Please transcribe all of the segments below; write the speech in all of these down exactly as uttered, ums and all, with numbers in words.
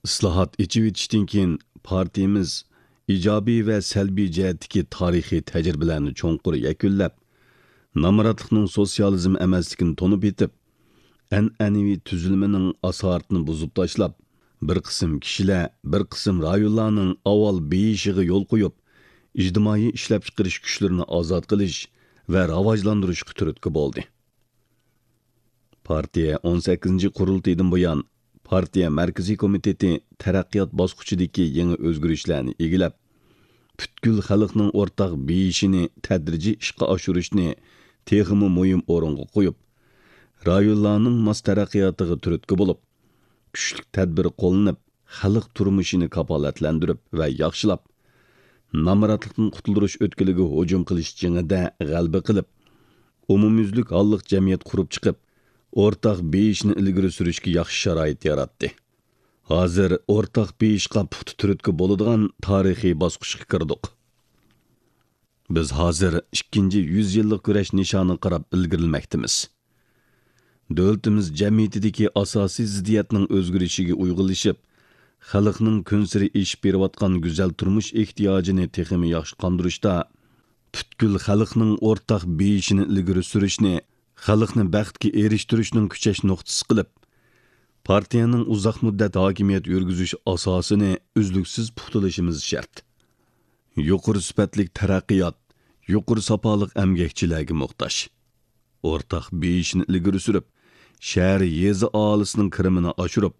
ئىسلاھات، ئېچىۋېتىشتىن كېيىن، پارتىيىمىز ئىجابىي ۋە سەلبىي جەھەتتىكى تارىخىي تەجرىبىلەرنى چوڭقۇر يەكۈنلەپ، نامراتلىقنىڭ سوتسىيالىزم ئەمەسلىكىنى تونۇپ يېتىپ، ئەنئەنىۋى تۈزۈلمىنىڭ ئاسارىتىنى بۇزۇپ تاشلاپ، بىر قىسىم كىشىلەر، بىر قىسىم رايونلارنىڭ ئاۋۋال بېيىشىغا يول قويۇپ، ئىجتىمائىي ئىشلەپچىقىرىش كۈچلىرىنى ئازاد قىلىش ۋە راۋاجلاندۇرۇشقا تۈرتكە بولدى. پارتىيە ئون سەككىزىنچى قۇرۇلتىيىدىن بۇيان، پارتىيە مەركىزىي كومىتېتى تەرەققىيات باسقۇچىدىكى يېڭى ئۆزگىرىشلەرنى ئىگىلەپ، پۈتكۈل خەلقنىڭ ئورتاق بېيىشىنى تەدرىجىي ئىشقا ئاشۇرۇشنى تېخىمۇ مۇھىم ئورۇنغا قويۇپ، رايونلارنىڭ ماس تەرەققىياتىغا تۈرتكە بولۇپ، كۈچلۈك تەدبىر قوللىنىپ، خەلق تۇرمۇشىنى كاپالەتلەندۈرۈپ ۋە ياخشىلاپ، نامراتلىقتىن قۇتۇلدۇرۇش ئۆتكىلىگە ھۇجۇم قىلىش جېڭىدە غەلىبە قىلىپ، ئومۇميۈزلۈك ھاللىق جەمئىيەت قۇرۇپ چىقىپ، ئورتاق بېيىشنى ئىلگىرى سۈرۈشكە ياخشى شارائىت ياراتتى. ھازىر ئورتاق بېيىشقا پۇختا تۈرتكە بولىدىغان تارىخىي باسقۇچقا كىردۇق. بىز ھازىر ئىككىنچى يۈز يىللىق كۈرەش نىشانىغا قاراپ ئىلگىرىلىمەكتىمىز. دۆلىتىمىز جەمئىيىتىدىكى ئاساسىي زىددىيەتنىڭ ئۆزگىرىشىگە ئۇيغۇنلىشىپ، خەلقنىڭ كۈنسېرى ئېشىپ بېرىۋاتقان گۈزەل تۇرمۇش ئېھتىياجىنى تېخىمۇ ياخشى قاندۇرۇشتا، پۈتكۈل خەلقنىڭ ئورتاق بېيىشىنى ئىلگىرى سۈرۈشنى خەلقنى بەختكە ئېرىشتۈرۈشنىڭ كۈچەش نۇقتىسى قىلىپ، پارتىيەنىڭ ئۇزاق مۇددەت ھاكىمىيەت يۈرگۈزۈش ئاساسىنى ئۈزلۈكسىز پۇختىلىشىمىز شەرت. يۇقىرى سۈپەتلىك تەرەققىيات يۇقىرى ساپالىق ئەمگەكچىلەرگە موھتاج. ئورتاق بېيىشنى ئىلگىرى سۈرۈپ، شەھەر، يېزا ئاھالىسىنىڭ كىرىمىنى ئاشۇرۇپ،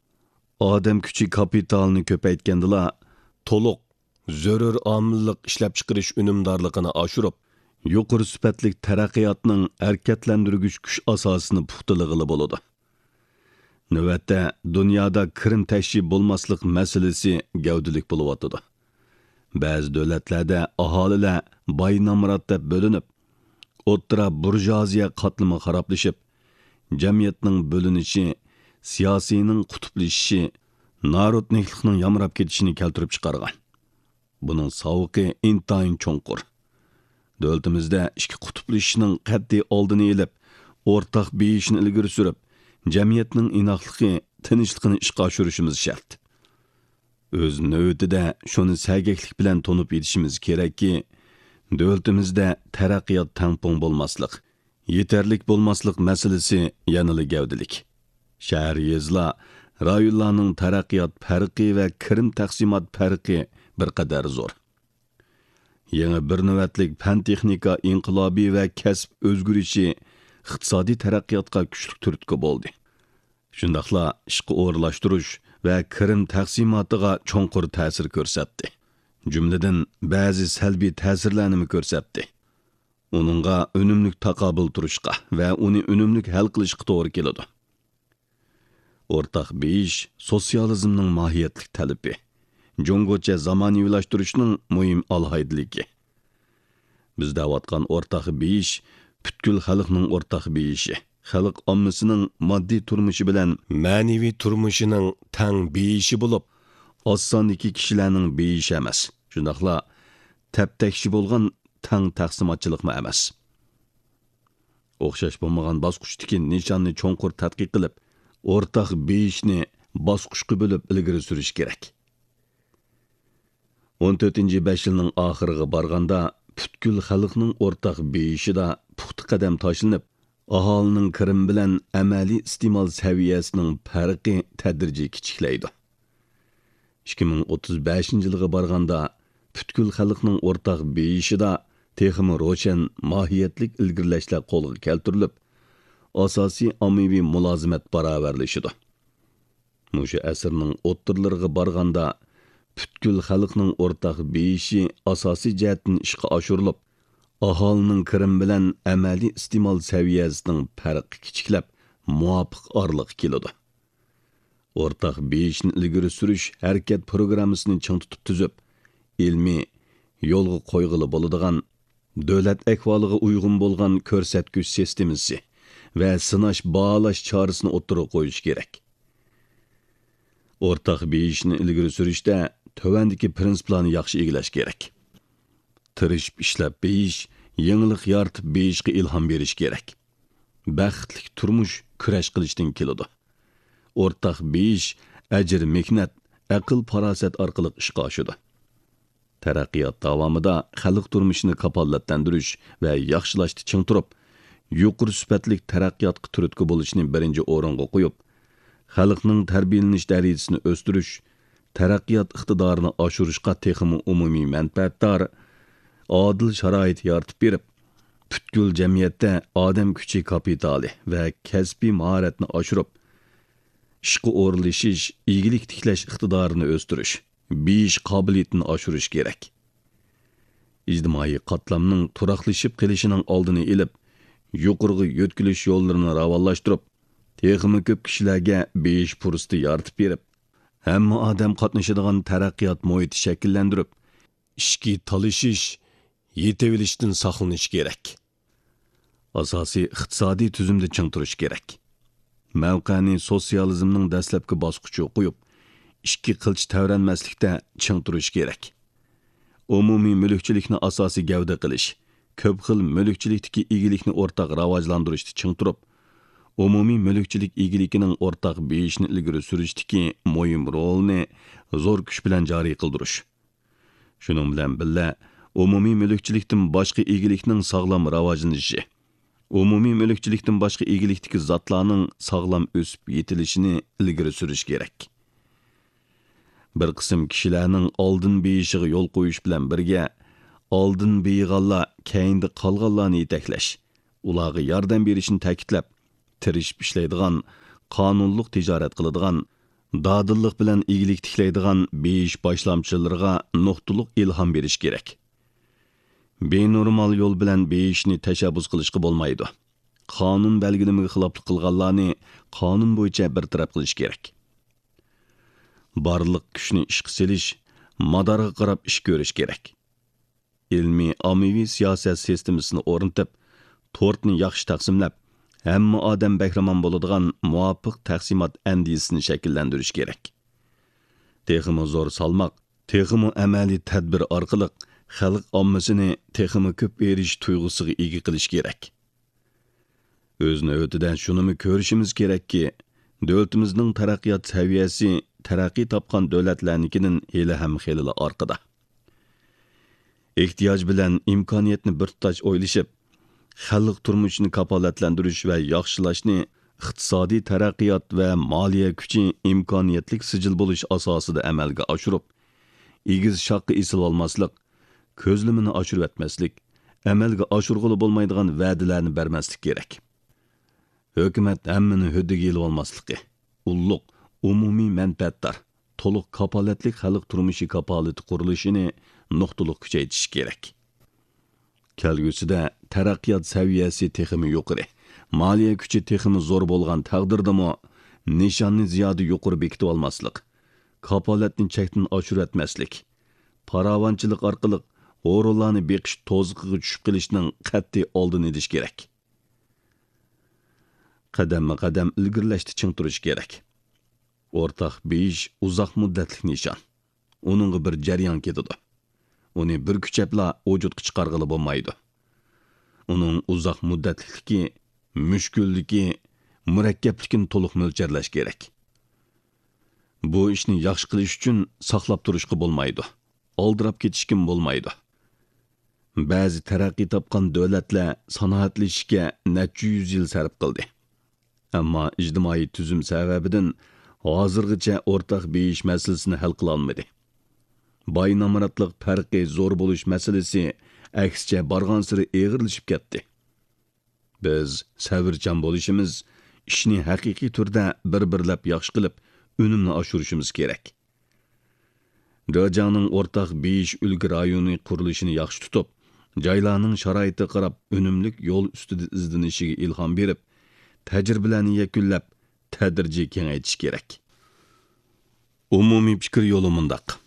ئادەم كۈچى كاپىتالىنى كۆپەيتكەندىلا، تولۇق، زۆرۈر ئامىللىق ئىشلەپچىقىرىش ئۈنۈمدارلىقىنى ئاشۇرۇپ، يۇقىرى سۈپەتلىك تەرەققىياتنىڭ ھەرىكەتلەندۈرگۈچ كۈچ ئاساسىنى پۇختىلىغىلى بولىدۇ. نۆۋەتتە، دۇنيادا كىرىم تەشۋى بولماسلىق مەسىلىسى گەۋدىلىك بولۇۋاتىدۇ. بەزى دۆلەتلەردە ئاھالىلەر باي نامرات دەپ بۆلۈنۈپ، ئوتتۇرا بۇرژۇئازىيە قاتلىمى خارابلىشىپ، جەمئىيەتنىڭ بۆلۈنۈشى، سىياسىينىڭ قۇتۇپلىشىشى، نارودنىكلىقنىڭ يامراپ كېتىشىنى كەلتۈرۈپ چىقارغان. بۇنىڭ ساۋۇقى ئىنتايىن چوڭقۇر. دۆلىتىمىزدە ئىككى قۇتۇپلىشىشنىڭ قەتئىي ئالدىنى ئېلىپ، ئورتاق بېيىشنى ئىلگىرى سۈرۈپ، جەمئىيەتنىڭ ئىناقلىقى، تىنچلىقىنى ئىشقا ئاشۇرۇشىمىز شەرت. ئۆز نۆۋىتىدە شۇنى سەگەكلىك بىلەن تونۇپ يېتىشىمىز كېرەككى، دۆلىتىمىزدە تەرەققىيات تەڭپۇڭ بولماسلىق، يېتەرلىك بولماسلىق مەسىلىسى يەنىلا گەۋدىلىك. شەھەر، يېزىلار، رايونلارنىڭ تەرەققىيات پەرقى ۋە كىرىم تەقسىمات پەرقى بىر قەدەر زور. يېڭى بىر نۆۋەتلىك پەن-تېخنىكا ئىنقىلابى ۋە كەسىپ ئۆزگىرىشى ئىقتىسادىي تەرەققىياتقا كۈچلۈك تۈرتكە بولدى. شۇنداقلا ئىشقا ئورۇنلاشتۇرۇش ۋە كىرىم تەقسىماتىغا چوڭقۇر تەسىر كۆرسەتتى. جۈملىدىن بەزى سەلبىي تەسىرلەرنىمۇ كۆرسەتتى. ئۇنىڭغا ئۈنۈملۈك تاقابىل تۇرۇشقا ۋە ئۇنى ئۈنۈملۈك ھەل قىلىشقا توغرا كېلىدۇ. ئورتاق بېيىش سوتسىيالىزمنىڭ ماھىيەتلىك تەلىپى، جۇڭگوچە زامانىۋىلاشتۇرۇشنىڭ مۇھىم ئالاھىدىلىكى. بىز دەۋاتقان ئورتاق بېيىش پۈتكۈل خەلقنىڭ ئورتاق بېيىشى، خەلق ئاممىسىنىڭ ماددىي تۇرمۇشى بىلەن مەنىۋى تۇرمۇشىنىڭ تەڭ بېيىشى بولۇپ، ئاز ساندىكى كىشىلەرنىڭ بېيىشى ئەمەس، شۇنداقلا تەپتەكشى بولغان تەڭ تەقسىماتچىلىقمۇ ئەمەس. ئوخشاش بولمىغان باسقۇچتىكى نىشاننى چوڭقۇر تەتقىق قىلىپ، ئورتاق بېيىشنى باسقۇچقا بۆلۈپ ئىلگىرى سۈرۈش كېرەك. ئون تۆتىنچى بەش يىلنىڭ ئاخىرىغا بارغاندا، پۈتكۈل خەلقنىڭ ئورتاق بېيىشىدا پۇختا قەدەم تاشلىنىپ، ئاھالىنىڭ كىرىمى بىلەن ئەمەلىي ئىستېمال سەۋىيەسىنىڭ پەرقى تەدرىجىي كىچىكلەيدۇ. ئىككى مىڭ ئوتتۇز بەشىنچى يىلغا بارغاندا، پۈتكۈل خەلقنىڭ ئورتاق بېيىشىدا تېخىمۇ روشەن ماھىيەتلىك ئىلگىرىلەشلەر قولغا كەلتۈرۈلۈپ، ئاساسىي ئاممىۋى مۇلازىمەت باراۋەرلىشىدۇ. مۇشۇ ئەسىرنىڭ ئوتتۇرىلىرىغا بارغاندا، پۈتكۈل خەلقنىڭ ئورتاق بېيىشى ئاساسىي جەھەتتىن ئىشقا ئاشۇرۇلۇپ، ئاھالىنىڭ كىرىمى بىلەن ئەمەلىي ئىستېمال سەۋىيەسىنىڭ پەرقى كىچىكلەپ، مۇۋاپىق ئارىلىققا كېلىدۇ. ئورتاق بېيىشنى ئىلگىرى سۈرۈش ھەرىكەت پروگراممىسىنى چىڭ تۇتۇپ تۈزۈپ، ئىلمىي، يولغا قويغىلى بولىدىغان، دۆلەت ئەھۋالىغا ئۇيغۇن بولغان كۆرسەتكۈچ سىستېمىسى ۋە سىناش، باھالاش چارىسىنى ئوتتۇرىغا قويۇش كېرەك. ئورتاق بېيىشنى ئىلگىرى سۈرۈشتە تۆۋەندىكى پىرىنسىپلارنى ياخشى ئىگىلەش كېرەك. تىرىشىپ ئىشلەپ بېيىش، يېڭىلىق يارىتىپ بېيىشقا ئىلھام بېرىش كېرەك. بەختلىك تۇرمۇش كۈرەش قىلىشتىن كېلىدۇ. ئورتاق بېيىش ئەجىر-مېھنەت، ئەقىل-پاراسەت ئارقىلىق ئىشقا ئاشىدۇ. تەرەققىيات داۋامىدا خەلق تۇرمۇشىنى كاپالەتلەندۈرۈش ۋە ياخشىلاشتا چىڭ تۇرۇپ، يۇقىرى سۈپەتلىك تەرەققىياتقا تۈرتكە بولۇشنى بىرىنچى ئورۇنغا قويۇپ، خەلقنىڭ تەربىيەلىنىش دەرىجىسىنى ئۆستۈرۈش، تەرەققىيات ئىقتىدارىنى ئاشۇرۇشقا تېخىمۇ ئومۇمىي مەنپەئەتدار، ئادىل شارائىت يارىتىپ بېرىپ، پۈتكۈل جەمئىيەتتە ئادەم كۈچى كاپىتالى ۋە كەسپىي ماھارەتنى ئاشۇرۇپ، ئىشقا ئورۇنلىشىش، ئىگىلىك تىكلەش ئىقتىدارىنى ئۆستۈرۈش، بېيىش قابىلىيىتىنى ئاشۇرۇش كېرەك. ئىجتىمائىي قاتلامنىڭ تۇراقلىشىپ قېلىشىنىڭ ئالدىنى ئېلىپ، يۇقىرىغا يۆتكىلىش يوللىرىنى راۋانلاشتۇرۇپ، تېخىمۇ كۆپ كىشىلەرگە بېيىش پۇرسىتى يارىتىپ بېرىپ، ھەممە ئادەم قاتنىشىدىغان تەرەققىيات مۇھىتى شەكىللەندۈرۈپ، ئىچكى تالىشىش، يېتىۋېلىشتىن ساقلىنىش كېرەك. ئاساسىي ئىقتىسادىي تۈزۈمدە چىڭ تۇرۇش كېرەك. مەۋقەنى سوتسىيالىزمنىڭ دەسلەپكى باسقۇچىغا قويۇپ، ئىككى قىلچە تەۋرەنمەسلىكتە چىڭ تۇرۇش كېرەك. ئومۇمىي مۈلۈكچىلىكنى ئاساسىي گەۋدە قىلىش، كۆپ خىل مۈلۈكچىلىكتىكى ئىگىلىكنى ئورتاق راۋاجلاندۇرۇشتا چىڭ تۇرۇپ، ئومۇمىي مۈلۈكچىلىك ئىگىلىكىنىڭ ئورتاق بېيىشىنى ئىلگىرى سۈرۈشتىكى مۇھىم رولىنى زور كۈچ بىلەن جارى قىلدۇرۇش. شۇنىڭ بىلەن بىللە، ئومۇمىي مۈلۈكچىلىكتىن باشقا ئىگىلىكنىڭ ساغلام راۋاجلىنىشى، ئومۇمىي مۈلۈكچىلىكتىن باشقا ئىگىلىكتىكى زاتلارنىڭ ساغلام ئۆسۈپ يېتىلىشىنى ئىلگىرى سۈرۈش كېرەك. بىر قىسىم كىشىلەرنىڭ ئالدىن بېيىشىغا يول قويۇش بىلەن بىرگە، ئالدىن بېيىغانلار كەينىدە قالغانلارنى يېتەكلەش، ئۇلارغا ياردەم بېرىشنى تەكىتلەپ، تىرىشىپ ئىشلەيدىغان، قانۇنلۇق تىجارەت قىلىدىغان، دادىللىق بىلەن ئىگىلىك تىكلەيدىغان بېيىش باشلامچىلىرىغا نۇقتىلىق ئىلھام بېرىش كېرەك. بىنورمال يول بىلەن بېيىشنى تەشەببۇس قىلىشقا بولمايدۇ. قانۇن بەلگىلىمىگە خىلاپلىق قىلغانلارنى قانۇن بويىچە بىر تەرەپ قىلىش كېرەك. بارلىق كۈچنى ئىشقا سېلىش، مادارغا قاراپ ئىش كۆرۈش كېرەك. ئىلمىي ئاممىۋى سىياسەت سىستېمىسىنى ئورنىتىپ، تورتنى ياخشى تەقسىملەپ، ھەممە ئادەم بەھرىمەن بولىدىغان مۇۋاپىق تەقسىمات ئەندىزىسىنى شەكىللەندۈرۈش كېرەك. تېخىمۇ زور سالماق، تېخىمۇ ئەمەلىي تەدبىر ئارقىلىق خەلق ئاممىسىنى تېخىمۇ كۆپ ئېرىشىش تۇيغۇسىغا ئىگە قىلىش كېرەك. ئۆز نۆۋىتىدە شۇنىمۇ كۆرۈشىمىز كېرەككى، دۆلىتىمىزنىڭ تەرەققىيات سەۋىيەسى تەرەققىي تاپقان دۆلەتلەرنىڭكىدىن ھېلىھەم خېلىلا ئارقىدا. ئېھتىياج بىلەن ئىمكانىيەتنى بىر تۇتاش ئويلىشىپ، خەلق تۇرمۇشىنى كاپالەتلەندۈرۈش ۋە ياخشىلاشنى ئىقتىسادىي تەرەققىيات ۋە مالىيە كۈچى ئىمكانىيەتلىك سىجىل بولۇش ئاساسىدا ئەمەلگە ئاشۇرۇپ، ئېگىز شاخقا ئېسىلىۋالماسلىق، كۆزلىمىنى ئاشۇرۇۋەتمەسلىك، ئەمەلگە ئاشۇرغىلى بولمايدىغان ۋەدىلەرنى بەرمەسلىك كېرەك. ھۆكۈمەت ھەممىنى ھۆددىگە ئېلىۋالماسلىقى، ئۇللۇق، ئومۇمىي مەنپەئەتدار، تولۇق كاپالەتلىك خەلق تۇرمۇشى كاپالىتى قۇرۇلۇشىنى نۇقتىلىق كۈچەيتىش كېرەك. كەلگۈسىدە تەرەققىيات سەۋىيەسى تېخىمۇ يۇقىرى، مالىيە كۈچى تېخىمۇ زور بولغان تەقدىردىمۇ، نىشاننى زىيادە يۇقىرى بېكىتىۋالماسلىق، كاپالەتنى چەكتىن ئاشۇرۇۋەتمەسلىك، پاراۋانچىلىق ئارقىلىق ھورۇنلارنى بېقىش توزۇقىغا چۈشۈپ قېلىشنىڭ قەتئىي ئالدىنى ئېلىش كېرەك. قەدەممۇ قەدەم ئىلگىرىلەشتە چىڭ تۇرۇش كېرەك. ئورتاق بېيىش ئۇزاق مۇددەتلىك نىشان. ئۇنىڭغا بىر جەريان كېتىدۇ. ئۇنى بىر كۈچەپلا ۋۇجۇدقا چىقارغىلى بولمايدۇ. ئۇنىڭ ئۇزاق مۇددەتلىكلىكى، مۈشكۈللۈكى، مۇرەككەپلىكىنى تولۇق مۆلچەرلەش كېرەك. بۇ ئىشنى ياخشى قىلىش ئۈچۈن ساقلاپ تۇرۇشقا بولمايدۇ. ئالدىراپ كېتىشكىمۇ بولمايدۇ. بەزى تەرەققىي تاپقان دۆلەتلەر سانائەتلىشىشكە نەچچە يۈز يىل سەرپ قىلدى. ئەمما ئىجتىمائىي تۈزۈم سەۋەبىدىن ھازىرغىچە ئورتاق بېيىش مەسىلىسىنى ھەل قىلالمىدى. باي نامراتلىق پەرقى زور بولۇش مەسىلىسى ئەكسىچە بارغانسېرى ئېغىرلىشىپ كەتتى. بىز سەۋرچان بولۇشىمىز، ئىشنى ھەقىقىي تۈردە بىر-بىرلەپ ياخشى قىلىپ، ئۈنۈمنى ئاشۇرۇشىمىز كېرەك. جېجياڭنىڭ ئورتاق بېيىش ئۈلگە رايونى قۇرۇلۇشىنى ياخشى تۇتۇپ، جايلارنىڭ شارائىتىغا قاراپ ئۈنۈملۈك يول ئۈستىدە ئىزدىنىشىگە ئىلھام بېرىپ، تەجرىبىلەرنى يەكۈنلەپ، تەدرىجىي كېڭەيتىش كېرەك. ئومۇمىي پىكىر يولى مۇنداق: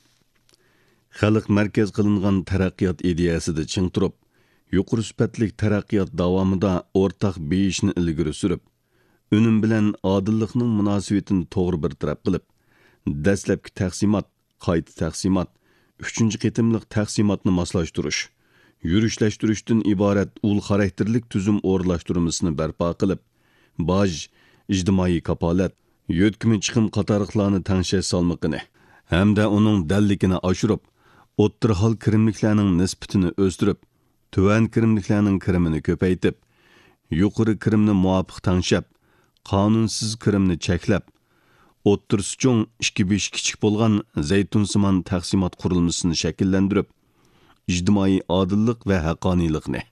خەلق مەركەز قىلىنغان تەرەققىيات ئىدىيەسىدە چىڭ تۇرۇپ، يۇقىرى سۈپەتلىك تەرەققىيات داۋامىدا ئورتاق بېيىشنى ئىلگىرى سۈرۈپ، ئۈنۈم بىلەن ئادىللىقنىڭ مۇناسىۋىتىنى توغرا بىر تەرەپ قىلىپ، دەسلەپكى تەقسىمات، قايتا تەقسىمات، ئۈچىنچى قېتىملىق تەقسىماتنى ماسلاشتۇرۇش، يۈرۈشلەشتۈرۈشتىن ئىبارەت ئۇل خاراكتېرلىك تۈزۈم ئورۇنلاشتۇرمىسىنى بەرپا قىلىپ، باج، ئىجتىمائىي كاپالەت، يۆتكىمە چىقىم قاتارلىقلارنى تەڭشەش سالمىقىنى، ھەمدە ئۇنىڭ دەللىكىنى ئاشۇرۇپ، ئوتتۇرا ھال كىرىملىكلەرنىڭ نىسبىتىنى ئۆستۈرۈپ، تۆۋەن كىرىملىكلەرنىڭ كىرىمىنى كۆپەيتىپ، يۇقىرى كىرىمنى مۇۋاپىق تەڭشەپ، قانۇنسىز كىرىمنى چەكلەپ، ئوتتۇرىسى چوڭ، ئىككى بېشى كىچىك بولغان زەيتۇنسىمان تەقسىمات قۇرۇلمىسىنى شەكىللەندۈرۈپ، ئىجتىمائىي ئادىللىق ۋە ھەققانىيلىقنى،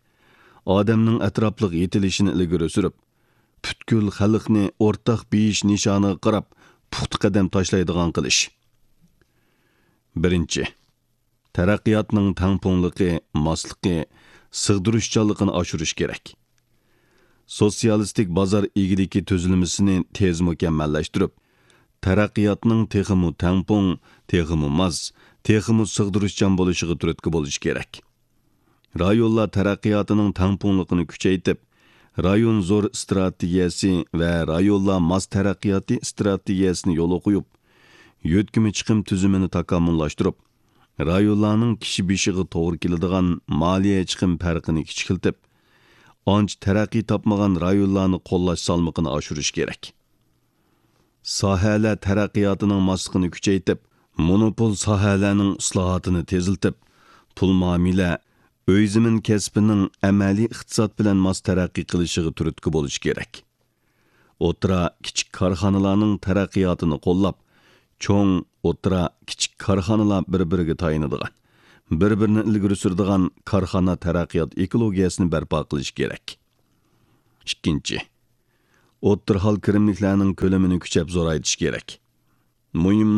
ئادەمنىڭ ئەتراپلىق يېتىلىشىنى ئىلگىرى سۈرۈپ، پۈتكۈل خەلقنى ئورتاق بېيىش نىشانىغا قاراپ پۇختا قەدەم تاشلايدىغان قىلىش. بىرىنچى، تەرەققىياتنىڭ تەڭپۇڭلۇقى، ماسلىقى، سىغدۇرۇشچانلىقىنى ئاشۇرۇش كېرەك. سوتسىيالىستىك بازار ئىگىلىكى تۈزۈلمىسىنى تېز مۇكەممەللەشتۈرۈپ، تەرەققىياتنىڭ تېخىمۇ تەڭپۇڭ، تېخىمۇ ماس، تېخىمۇ سىغدۇرۇشچان بولۇشىغا تۈرتكە بولۇش كېرەك. رايونلار تەرەققىياتىنىڭ تەڭپۇڭلۇقىنى كۈچەيتىپ، رايون زور ئىستراتېگىيەسى ۋە رايونلار ماس تەرەققىياتى ئىستراتېگىيەسىنى يولغا قويۇپ، يۆتكىمە چىقىم تۈزۈمىنى تاكامۇللاشتۇرۇپ، رايونلارنىڭ كىشى بېشىغا توغرا كېلىدىغان مالىيە چىقىم پەرقىنى كىچىكلىتىپ، ئانچە تەرەققىي تاپمىغان رايونلارنى قوللاش سالمىقىنى ئاشۇرۇش كېرەك. ساھەلەر تەرەققىياتىنىڭ ماسلىقىنى كۈچەيتىپ، مونوپول ساھەلەرنىڭ ئىسلاھاتىنى تېزلىتىپ، پۇل مۇئامىلە، ئۆي زېمىن كەسپىنىڭ ئەمەلىي ئىقتىساد بىلەن ماس تەرەققىي قىلىشىغا تۈرتكە بولۇش كېرەك. ئوتتۇرا، كىچىك كارخانىلارنىڭ تەرەققىياتىنى قوللاپ، چوڭ، ئوتتۇرا، كىچىك كارخانىلار بىر-بىرىگە تايىنىدىغان، بىر-بىرىنى ئىلگىرى سۈرىدىغان كارخانا تەرەققىيات ئېكولوگىيەسىنى بەرپا قىلىش كېرەك. ئىككىنچى، ئوتتۇرا ھال كىرىملىكلەرنىڭ كۆلىمىنى كۈچەپ زورايتىش كېرەك. مۇھىم